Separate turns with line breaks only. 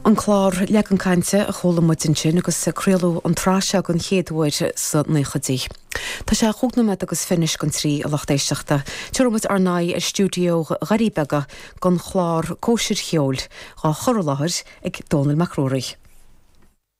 An clár Leagan Cainte a chuala muid ansin agus craoladh an tsraith seo den chéad uair sna naochaidí. Tá sé chúig nóiméad agus fiche anois don trí, a lucht éisteachta. Tabharfaidh muid ár n-aghaidh ar stiúideo Dhoirí Beaga don chlár Cóisir Cheoil, á chur i láthair ag Dónall Mac Ruairí.